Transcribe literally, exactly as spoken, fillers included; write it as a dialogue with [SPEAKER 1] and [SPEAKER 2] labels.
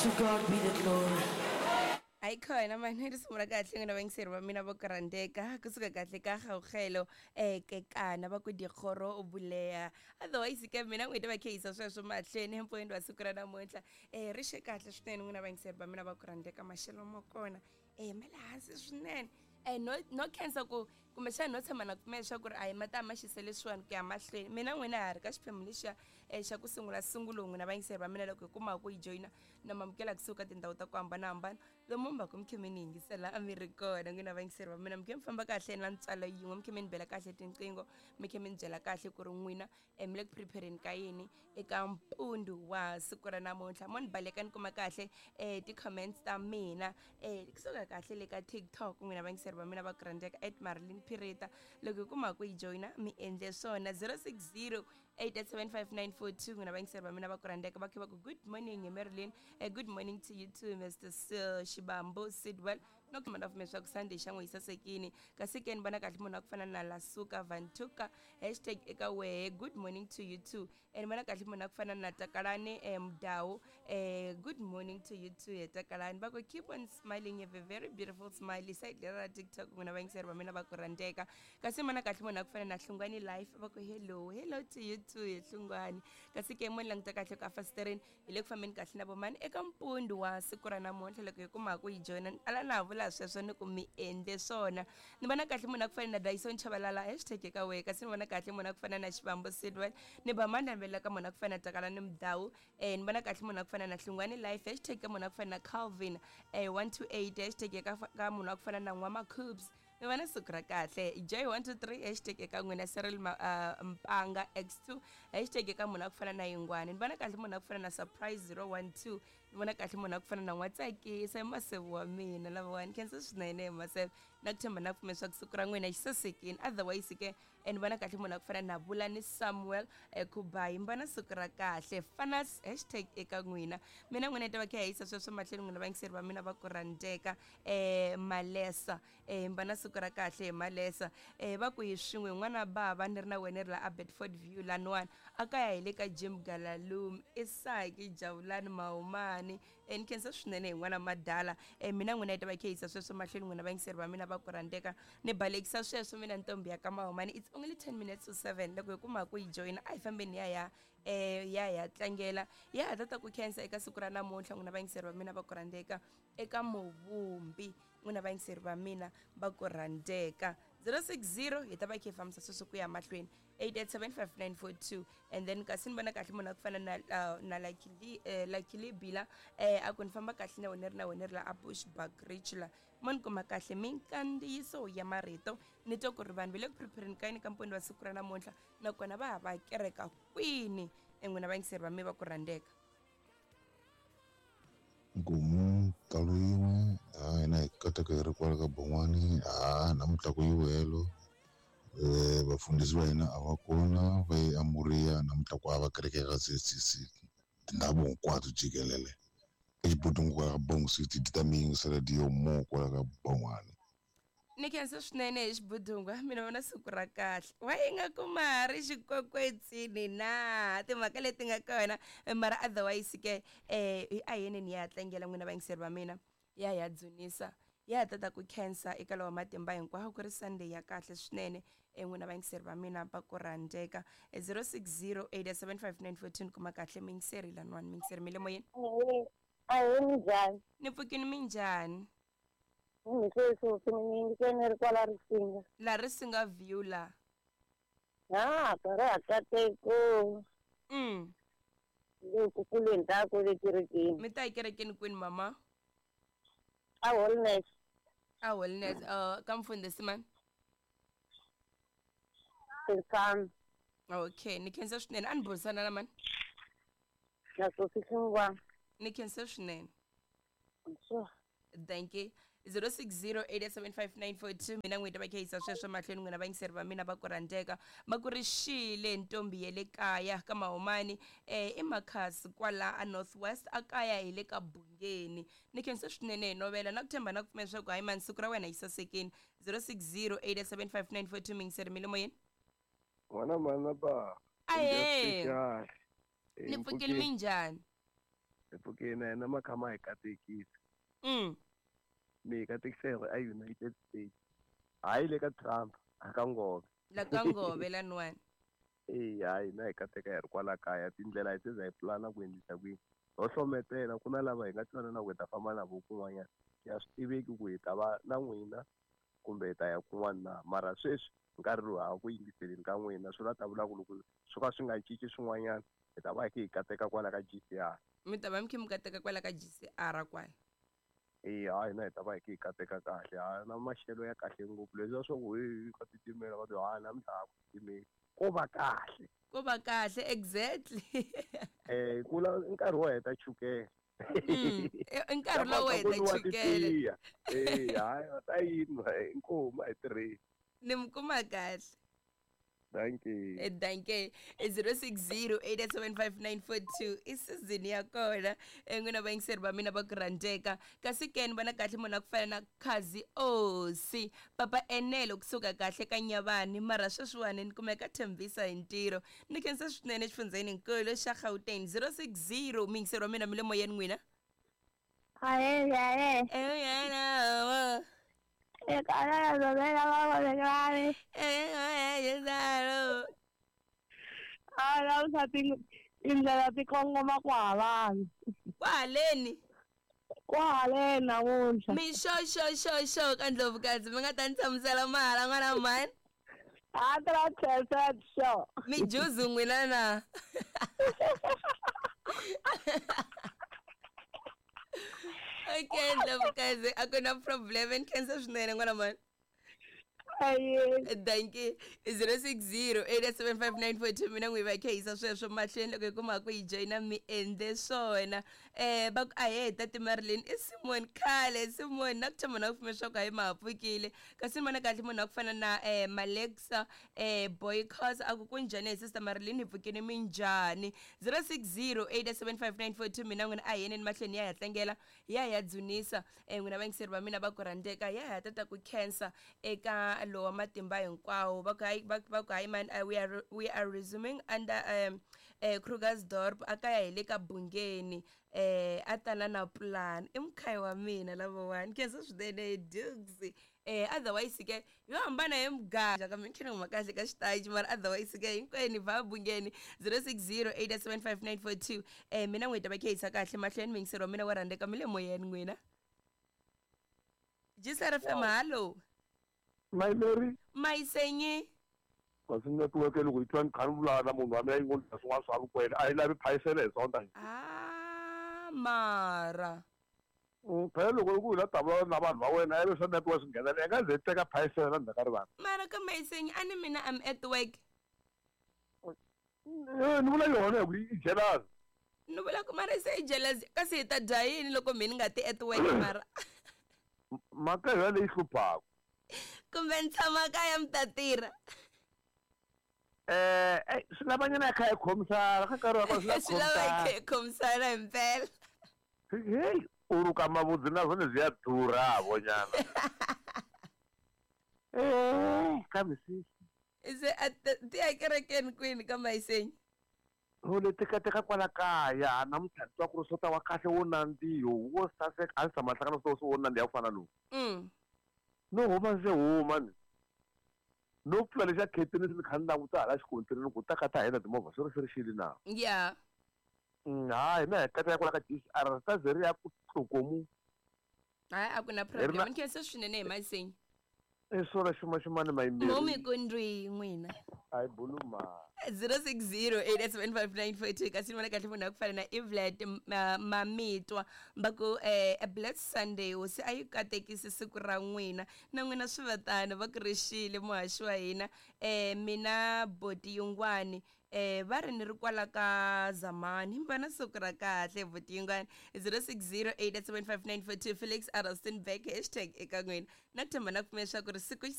[SPEAKER 1] To God be the glory.
[SPEAKER 2] Ayikhona mani ri sungula kahle n'wina vayingiseri va mina vo kurhandeka kusuka kahle ka gawugelo um kekana va ku dikgoro o buleya otherwise ke mina n'wina va kheyisa sweswo mahlweni empfweni wa siku ra namuntlha um ri xe kahle swinene n'wina vayingiseri va mina va kurhandeka maxelo ma kona um ma le hansi swinene um no no khensa ku kumbexana no tshama na pfumela leswaku ri a hi ma ta ma xisa leswiwani ku ya mahlweni mina n'wina ha ri ka xiphemu lexiya um xa ku sungula sungulo n'wina vayingiseri va mina loko hi kumaka ku yi joyina na mamukela kusuka tindhawu ta ku hambanahambana lomu mi va ku mi khe mi ni yingisela a mi ri kona n'wina vayingiseri va mina mi khe mi famba kahle na ntswalo yin'we mi khe mi ni bela kahle tinqingho mi khe mi ni byela kahle ku ri n'wina um mi le ku prepareni ka yini eka mpundu wa siku ra namuntlha mo ni baleka ni kuma kahle um ti-comments ta mina um kusuka kahle le ka TikTok n'wina vayingiseri va mina va ku rhandzeka at Marilyn Pirita loko hi kuma ku yi joyina mi endle swona zero six zero eight eight seven five nine four two n'wina vayingiseri va mina va ku rhandzeka va khe va ku good morning hi Marilyn. Uh, good morning to you too Mister Sil Shibambo Sidwell no ku mana pfumela swa ku Sunday xa n'wi yi sasekini kasi ke ni vona kahle munhu wa ku fana na Lasuka Vantuka hashtag eka wehe good morning to you too and vona kahle munhu wa ku fana na Takalani eh, Mdawu eh, good morning to you too he Takalani va ku keep on smiling you have a very beautiful smile side leri ra TikTok n'wina vayingiseri va mina va ku rhandzeka kasi vona kahle munhu wa ku fana na Hlungwani Life va ku hello hello to you too he Hlungwani kasi ke mo ni languta kahle ka fasitereni hi le ku fambeni kahle na vomani eka mpundu wa siku ra namuntlha loko hi kuma ku yi joyina ala na ha vula sweswo ni ku mi endle swona ni vona kahle munhu a ku fana na Dyson Chabalala hashtag eka wehe kasi ni vona kahle munhu a ku fana na Xivambo Sidwell ni ba mandla ni velela ka munhu a ku fana na Takalani Mdawu eh ni vona kahle munhu a ku fana na Hlungwani Life hashtag ka munhu a ku fana na Calvin eh one two eight hashtag eka ka munhu a ku fana na N'wama Cubes mi vona siku ra kahle J one two three hashtag eka n'wina Cyril Ma, uh, Mpanga X two hashtag eka munhu a ku fana na Yingwani ni vona kahle munhu a ku fana na Surprise zero one two ni vona kahle munhu a ku fana na N'watsakisa i masevu wa mina lavawani khensa swinene hi masevu na ku tshemba na ku pfumela swa ku siku ra n'wina xi sasekini otherwise ke ni vona kahle munhu a ku fana na Bulani Samuel Khubayi mi vona siku ra kahle fanas hashtag eka n'wina mina n'wina yi ta va kha yi yisa sweswo mahlweni n'wina vayingiseri va mina va ku rhandzeka um Malesa um mi vona siku ra kahle hi Malesa um va ku hi swin'we n'wana bava ni ri na wena ri la a Bedford View laniwani a kaya hi le ka Jim Galalumi Isaki Jawulani Mahumani um ni khensa swinene hi n'wana madala um mina n'wina yi ta va kha yisa sweswo mahlweni n'wina vayingiseri va mina va ku rhandzeka ni balekisa sweswo mina ntombi ya ka Mahumani it's only ten minutes to seven loko hi kuma ku yi joyina a hi fambeni ya ya um ya ya tlangela ya ha tata ku khensa eka siku ra namuntlha n'wina vayingiseri va mina va ku rhandzeka eka muvumbi n'wina vayingiseri va mina va ku rhandzeka zero six zero hi ta va kha hi fambisa sweswo ku ya mahlweni eight eight seven five nine four two and then kasi ni vona kahle munhu a ku fana na uh, na Lucky uh, Lucky Bila eh a ku ni famba kahle na wena ri na wena ri la a Bushbuck Ridge la mo ni kuma kahle minkandziyiso ya marito ni twa ku ri vanhu va le ku prepareni ka yini ka mpfuno wa siku ra namuntlha nakona va ha va kereka kwini n'wina vayingiseri va mi va ku rhandzeka
[SPEAKER 3] Nkomu talo yin'we ha hina hi kataka hi ri kwala ka Bon'wani ha namuntlha ku yiwelo eh vafundhisi va hina a va kona va ye eMoriya namuntlha ku hava kereke ka C C C tindhawu hinkwato jikelele exibodweni kwala ka Bongo City ti ta mi yingisela diyo mo kwala ka Bon'wani
[SPEAKER 2] ni khensa swinene hi xibudungwa mina vona siku ra kahle wa yi nga ku ma ri xikwekwetsini na timhaka leti nga kona mara otherwise ke um a yeni ni ya tlangela n'wina vayingiseri va mina ya ya dzunisa ya tata ku khensa eka lawa matimba hinkwawo ku ri Sunday ya kahle swinene n'wina vayingiseri va mina va ku rhandzeka zero six zero eight seven five nine four two kuma kahle miyingiseri laniwani miyingiseri mi le moyeni
[SPEAKER 4] ahee minjhani
[SPEAKER 2] ni pfukini minjhani
[SPEAKER 4] Sweswi ni ri kwala Risinga
[SPEAKER 2] la Risinga View la
[SPEAKER 4] ha ka ra kateko
[SPEAKER 2] mm
[SPEAKER 4] le ku kuleni ta ku le kerekeni
[SPEAKER 2] mi ta yi kerekeni kwini mama
[SPEAKER 4] a Holiness
[SPEAKER 2] a Holiness uh ka mfundhisi mani
[SPEAKER 4] Tinsana
[SPEAKER 2] okay ni khensa swinene a ni burisana na mani
[SPEAKER 4] na Sophie Hlungwana
[SPEAKER 2] ni khensa swinene
[SPEAKER 4] sure
[SPEAKER 2] thank you zero six zero eight seven five nine four two mina n'wina va khayisa sweswo mahlweni n'wina vayingiseri va mina va ku rhandzeka va ku ri xile ntombi ya le kaya ka Mahumani eh i Makhasi kwala a North West a kaya hi le ka Bungeni ni khensa swinene hi novela na ku tshemba na ku pfumela leswaku hayi mani siku ra wena yi sasekini zero six zero eight seven five nine four two miyingiseri mi le moyeni
[SPEAKER 5] n'wana mana ba
[SPEAKER 2] ahee ni pfukile minjhani
[SPEAKER 1] Hi pfukini na yena makhama hi katekisa.
[SPEAKER 2] Mm.
[SPEAKER 1] Mi hi katekisa hi ri a United States. Hayi le ka Trump, a ka Ngove.
[SPEAKER 2] La ka Ngove laniwani.
[SPEAKER 1] Eya, hayi na hi kateka hi ri kwala kaya tindlela hi tiza hi pulana ku endlisa ku yini. Ho hlometela ku na lava hi nga twanana ku hi ta famba na vo kun'wanyana. Ya swi tiveki ku hi ta va na n'wina kumbe hi ta ya kun'wana na mara sweswi nkarhi lowu ha ku yingiseleni ka n'wina swi la ta vula ku loko swo ka swi nga cinci swin'wanyana hi ta va hi kha hi kateka kwala ka G C R.
[SPEAKER 2] Mi ta va mi kha mi kateka kwala ka G C R kwala.
[SPEAKER 1] Eya, hayi na hi ta va hi kha hi kateka kahle ha na maxelo ya kahle ngopfu leswiya swa ku hi ka titimela va ti ha namuntlha a ku titimeli ko va kahle.
[SPEAKER 2] Ko va kahle exactly.
[SPEAKER 1] Eh ku la nkarhi wo heta chukele.
[SPEAKER 2] Mm, i nkarhi lowo heta chukele.
[SPEAKER 1] Eh hayi va ta yinwa inkomu a hi tirheni.
[SPEAKER 2] Ni mi kuma kahle.
[SPEAKER 1] Dankie.
[SPEAKER 2] Eh, dankie. zero six zero eight seven five nine four two i season ya kona. N'wina vayingiseri va mina va ku rhandzeka. Kasi ke ni vona kahle munhu a ku fana na Khazi Osi. Papa Enelo kusuka kahle ka Nyavani mara sweswiwani ni kumeka Thembisa hi ntirho. Ni khensa swinene xifundzheni nkulu xa Gauteng zero six zero muyingiseri wa mina mi le moyeni n'wina.
[SPEAKER 4] Ahe, ahe.
[SPEAKER 2] Eh,
[SPEAKER 4] Tindlela ti kongoma kwahalani.
[SPEAKER 2] Kwahaleni?
[SPEAKER 4] Kwahaleni namuntlha.
[SPEAKER 2] Mi xo xo xo xo ka Ndlovukazi mi nga ta ni tshamisela mahala n'wana mhani.
[SPEAKER 4] Hundred percent sure.
[SPEAKER 2] Mi juzu n'wina na. Okay, Ndlovukazi a ku na problem ni khensa swinene n'wana mhani. Dankie. zero six zero eight seven five nine four two mina n'wi va khehisa sweswo mahlweni loko hi kuma ku hi joyina mi endle swona. Eh va ku a heta ti Marilyn i Simon khale Simon na ku tshama na ku pfumela swa ku hayi ma ha pfukile kasi ni vona kahle munhu a ku fana na eh Malexa eh Boycos a ku ku njhani hi sister Marilyn hi pfukile minjhani zero six zero eight seven five nine four two mina n'wina a hi yeneni mahlweni ya ya tlangela ya ya dzunisa eh n'wina vayingiseri va mina va ku rhandzeka ya ya tata ku khensa eka lowa matimba hinkwawo va ku hayi va ku hayi man we are we are resuming under um eh Krugersdorp akaya hi le ka Bungeni eh a tana na plan i mukhayi wa mina lavawani khensa swinene Dukes eh otherwise ke yo hambana hi muganga ka minkhini huma kahle ka xitaji mara otherwise ke hinkwenu va Bungeni zero six zero eight seven five nine four two eh mina n'wi ta va khehisa kahle mahlweni muyingiseri wa mina wa rhandzeka mi le moyeni n'wina G C R F M hallo.
[SPEAKER 5] My Mary.
[SPEAKER 2] My senye.
[SPEAKER 5] Kasi network loko yi twa ni kha ni vulavula na munhu wa mina yi ngo ni swin'wana swa vukwele a yi lavi phayisela hi sonta.
[SPEAKER 2] Ah mara.
[SPEAKER 5] Phela loko ku hi la ta vulavula na vanhu va wena ivi swa network swi nghenela i nga ze teka phayisela na ndzhaku ka rivanti.
[SPEAKER 2] Mara ka my senye a ni mina I'm at work.
[SPEAKER 5] Eh ni vula yona hi ku i jealous.
[SPEAKER 2] Ni vula ku mara se i jealous kasi hi ta dya yini loko mina ni nga ti at work mara.
[SPEAKER 5] Mhaka hi leyi hluphaka.
[SPEAKER 2] Kumbe ni tshama kaya mi ta tirha.
[SPEAKER 5] Eh swi lavanyana kha hi khomisana ka nkarhi wa kona
[SPEAKER 2] swi lava hi khomisana hi mpela.
[SPEAKER 5] Hey u ruka mavudzi na zwone zwi a ḓura vhonyana. Eh kambe sisi.
[SPEAKER 2] Se a ti ya kerekeni kwini ka Mayisenyi?
[SPEAKER 5] Ho le tekateka kwala kaya namuntlha ni twa ku ri swo ta wa kahle wo nandziha wo saseka a ndzi tshama hlangana swo wo nandziha ku fana lowu.
[SPEAKER 2] Mm.
[SPEAKER 5] No huma ndzi huma ni. No pfula lexa khetini ni kha ni languta hala xikontirini ku ta ka ta hina timovha swi ri swi ri xili na.
[SPEAKER 2] Yeah.
[SPEAKER 5] Hayi na hi kateka kwala ka G C R ta ze ri ya ku tlokomu.
[SPEAKER 2] Hayi a ku na problem ni khensa swinene hi Mayisenyi.
[SPEAKER 5] I swona xuma-xumani mayimbirhi.
[SPEAKER 2] Mo mi ku ndwi n'wina.
[SPEAKER 5] Hayi buluma.
[SPEAKER 2] zero six zero eight seven five nine four two kasi ni vona kahle munhu a ku fana na Evlet Mamitwa va ku eh a blessed Sunday hosi a yi katekisi siku ra n'wina na n'wina swi va tano va ku rixile muhaxi wa hina eh mina boti yingwani eh va ri ni ri kwala ka Zamani va na siku ra kahle boti yingwani zero six zero eight seven five nine four two Felix Araston back hashtag eka n'wina na ku tshemba na ku pfumela leswaku ri siku